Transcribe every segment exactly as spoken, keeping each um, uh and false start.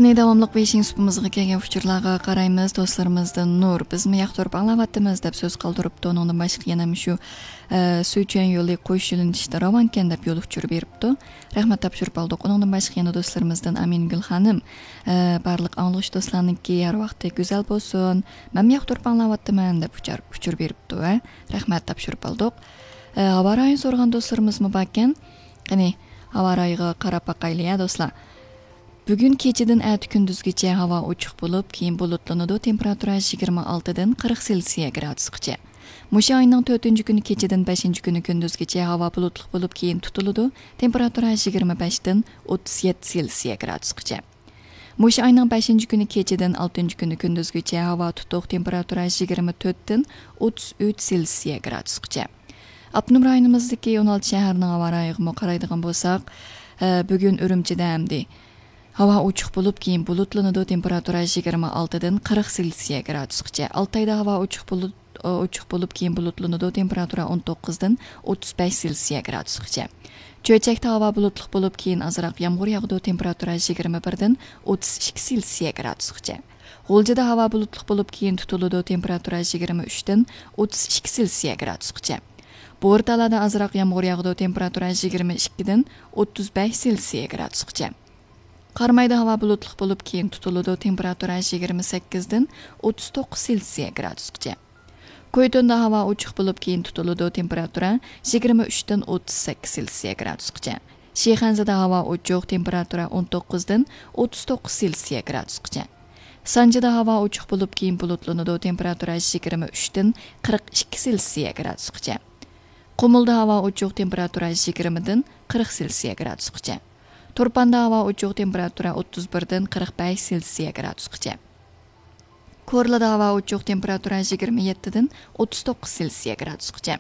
داۋاملىق بېيجىڭ سۇپىمىزغا كەلگەن ئۇچۇرلارغا قارايمىز. دوستلىرىمىزدىن نۇر، بىزمۇ ياقتۇرۇپ ئاڭلاۋاتىمىز دەپ سۆز قالدۇرۇپتۇ. ئۇنىڭدىن باشقا يەنە مۇشۇ، ئە، سۈيچۈەن يولى قويۇش يۆنىلىشىدە راۋانكەن دەپ يول ئۇچۇرى بېرىپتۇ. رەھمەت تاپشۇرۇپ ئالدۇق. ئۇنىڭدىن باشقا يەنە دوستلىرىمىزدىن ئامىنگۈل خانىم، ئە، بارلىق ئاڭلىغۇچى دوستلارنىڭكى ھەر ۋاقتى گۈزەل بولسۇن. مەنمۇ ياقتۇرۇپ ئاڭلاۋاتىمەن دەپ ئۇچار-، ئۇچۇر بېرىپتۇ، ھە. رەھمەت تاپشۇرۇپ ئالدۇق. ئە، ھاۋا رايىنى سورىغان دوستلىرىمىزمۇ باركەن. قېنى، ھاۋا رايىغا قاراپ باقايلى، ھە، دوستلار. بۈگۈن كېچىدىن ئەتە كۈندۈزگىچە ھاۋا ئوچۇق بولۇپ، كېيىن بۇلۇتلىنىدۇ، تېمپېراتۇرا يىگىرمە ئالتىدىن قىرىق سېلسىيە گرادۇسقىچە. مۇشۇ ئاينىڭ تۆتىنچى كۈنى كېچىدىن بەشىنچى كۈنى كۈندۈزگىچە ھاۋا بۇلۇتلۇق بولۇپ، كېيىن تۇتۇلىدۇ، تېمپېراتۇرا يىگىرمە بەشتىن ئوتتۇز يەتتە سېلسىيە گرادۇسقىچە. مۇشۇ ئاينىڭ بەشىنچى كۈنى كېچىدىن ئالتىنچى كۈنى كۈندۈزگىچە ھاۋا تۇتۇق، تېمپېراتۇرا يىگىرمە تۆتتىن ئوتتۇز ئۈچ سېلسىيە گرادۇسقىچە. ئاپتونوم رايونىمىزدىكى ئون ئالتە شەھەرنىڭ ھاۋا رايىغىمۇ قارايدىغان بولساق، ئە، بۈگۈن ئۈرۈمچىدە ئەمدى ھاۋا ئوچۇق بولۇپ، كېيىن بۇلۇتلىنىدۇ، تېمپېراتۇرا يىگىرمە ئالتىدىن قىرىق سېلسىيە گرادۇسقىچە. ئالتايدا ھاۋا ئوچۇق بولۇپ، ئوچۇق بولۇپ، كېيىن بۇلۇتلىنىدۇ، تېمپېراتۇرا ئون توققۇزدىن ئوتتۇز بەش سېلسىيە گرادۇسقىچە. چۆچەكتە ھاۋا بۇلۇتلۇق بولۇپ، كېيىن ئازراق يامغۇر ياغىدۇ، تېمپېراتۇرا يىگىرمە بىردىن ئوتتۇز ئىككى سېلسىيە گرادۇسقىچە. غۇلجىدا ھاۋا بۇلۇتلۇق بولۇپ، كېيىن تۇتۇلىدۇ، تېمپېراتۇرا يىگىرمە ئۈچتىن ئوتتۇز ئىككى سېلسىيە گرادۇسقىچە. بورتالادا ئازراق يامغۇر ياغىدۇ، تېمپېراتۇرا يىگىرمە ئىككىدىن ئوتتۇز بەش سېلسىيە گرادۇسقىچە. قارامايدا ھاۋا بۇلۇتلۇق بولۇپ، كېيىن تۇتۇلىدۇ، تېمپېراتۇرا يىگىرمە سەككىزدىن ئوتتۇز توققۇز سېلسىيە گرادۇسقىچە. كويتوندا ھاۋا ئوچۇق بولۇپ، كېيىن تۇتۇلىدۇ، تېمپېراتۇرا يىگىرمە ئۈچتىن ئوتتۇز سەككىز سېلسىيە گرادۇسقىچە. شىخەنزىدە ھاۋا ئوچۇق، تېمپېراتۇرا ئون توققۇزدىن ئوتتۇز توققۇز سېلسىيە گرادۇسقىچە. سانجىدا ھاۋا ئوچۇق بولۇپ، كېيىن بۇلۇتلىنىدۇ، تېمپېراتۇرا يىگىرمە ئۈچتىن قىرىق ئىككى سېلسىيە گرادۇسقىچە. قۇمۇلدا ھاۋا ئوچۇق، تېمپېراتۇرا يىگىرمىدىن قىرىق سېلسىيە گرادۇسقىچە. تۇرپاندا ھاۋا ئوچۇق، تېمپېراتۇرا ئوتتۇز بىردىن قىرىق بەش سېلسىيە گرادۇسقىچە. كورلىدا ھاۋا ئوچۇق، تېمپېراتۇرا يىگىرمە يەتتىدىن ئوتتۇز توققۇز سېلسىيە گرادۇسقىچە.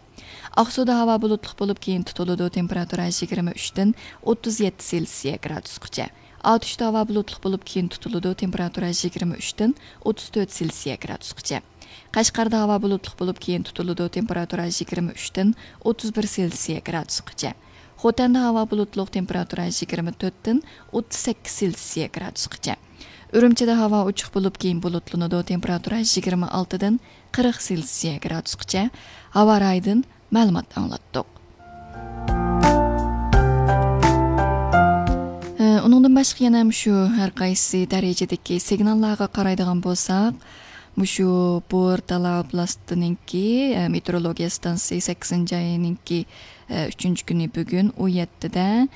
ئاقسۇدا ھاۋا بۇلۇتلۇق بولۇپ، كېيىن تۇتۇلىدۇ، تېمپېراتۇرا يىگىرمە ئۈچتىن ئوتتۇز يەتتە سېلسىيە گرادۇسقىچە. ئاتۇشتا ھاۋا بۇلۇتلۇق بولۇپ، كېيىن تۇتۇلىدۇ، تېمپېراتۇرا يىگىرمە ئۈچتىن ئوتتۇز تۆت سېلسىيە گرادۇسقىچە. قەشقەردە ھاۋا بۇلۇتلۇق بولۇپ، كېيىن تۇتۇلىدۇ، تېمپېراتۇرا يىگىرمە ئۈچتىن ئوتتۇز بىر سېلسىيە گرادۇسقىچە. خوتەندە ھاۋا بۇلۇتلۇق، تېمپېراتۇرا يىگىرمە تۆتتىن ئوتتۇز سەككىز سېلسىيە گرادۇسقىچە. ئۈرۈمچىدە ھاۋا ئوچۇق بولۇپ، كېيىن بۇلۇتلىنىدۇ، تېمپېراتۇرا يىگىرمە ئالتىدىن قىرىق سېلسىيە گرادۇسقىچە. ھاۋا رايىدىن مەلۇمات ئاڭلاتتۇق. ئۇنىڭدىن باشقا يەنە مۇشۇ ھەر قايسى دەرىجىدىكى سىگناللارغا قارايدىغان بولساق، مۇشۇ بورتالا ئوبلاستىنىڭكى، ئە، مېتېئورولوگىيە ئىستانسىسى سەككىزىنچى ئاينىڭكى، ئە، ئۈچىنچى كۈنى بۈگۈن ئون يەتتىدە،